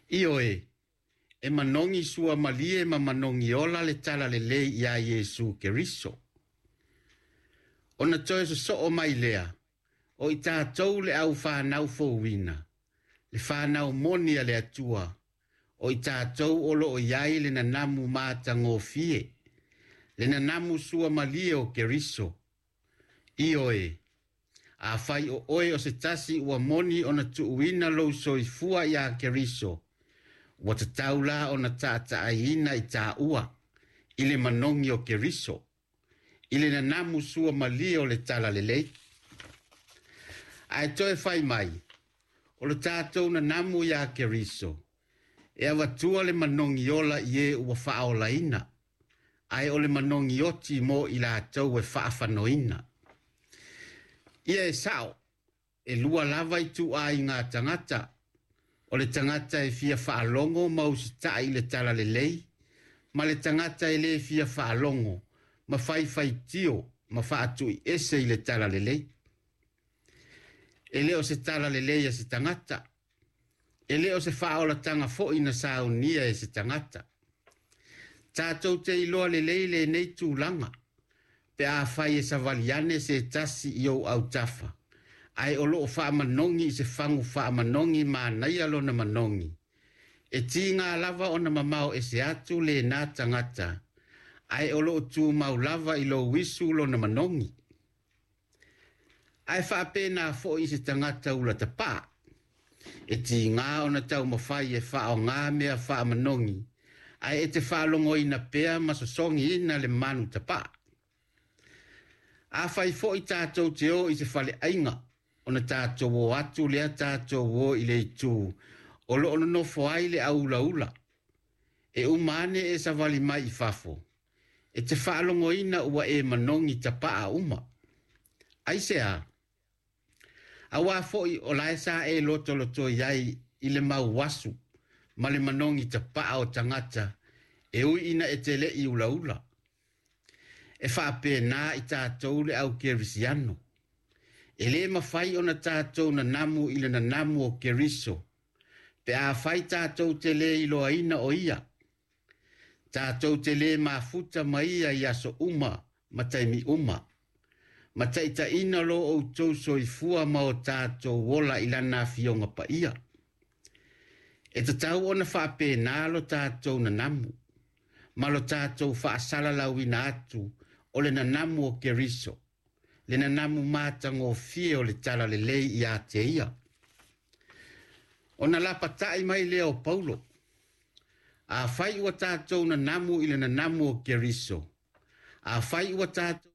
Ioe, e manogi suamalie ma manogi ola le talalelei iā Iesu Keriso. Ona toe sosoo mai lea, o i tatou le aufanau fouina, le fanau moni a le Atua, o i tatou o loo i ai le nanamu matagofie, le nanamu suamalie o Keriso. Ioe, afai o oe o se tasi ua moni ona tuuina lou soifua iā Keriso, ua tatau la ona taataaiina i taua i le manogi o Keriso, i le nanamu suamalie o le talalelei. Ae toe fai mai, o le tatou nanamu iā Keriso, e avatua le manogi ola i e ua faaolaina, ae o le manogi oti mo i latou e faafanoina. Ia e sao, e lua lava ituaiga tagata, o le tagata e fia faalogo ma usitai i le talalelei, ma le tagata e le fia faalogo ma faifaitio ma faatuiese i le talalelei. E le o se talalelei a se tagata, e le o se faaolataga foi na saunia e se tagata. Tatou te iloa lelei lenei tulaga, pe afai e savali ane se tasi i ou autafa, ae o loo faamanogi i se fagu faamanogi manaia lona manogi. E tiga lava ona mamao ese atu lena tagata, ae o loo tumau lava i lou isu lona manogi. Ae faapena foi i se tagata ula tapaa, e tiga ona taumafai e faaaoga mea faamanogi, ae e te faalogoina pea ma sosogiina le manu tapaa. Afai foi tatou te o i se faleaiga, ona tatou o atu lea tatou o i le itu o loo nonofo ai le aulaula, e uma ane e savali mai i fafo, e te faalogoina ua e manogi tapaa uma. Aisea? Auā foi o lae sa e lotolotoi ai i le mau asu ma le manogi tapaa o tagata e ui ina e te le i ulaula. E faapena i tatou le au kerisiano. E lē mafai ona tatou nanamu i le nanamu o Keriso, pe afai tatou te lē iloaina o ia. Tatou te lē mafuta ma ia i aso uma ma taimi uma. Ma taitaiina lo outou soifua ma o tatou ola i lana afioga paia. E tatau ona faapena lo tatou nanamu, ma lo tatou faasalalauina atu o le nanamu o Keriso, le nanamu matagofie o le talalelei iā te ia. Ona lapatai mai lea o Paulo, afai ua tatou nanamu i le nanamu o Keriso, afai ua tatou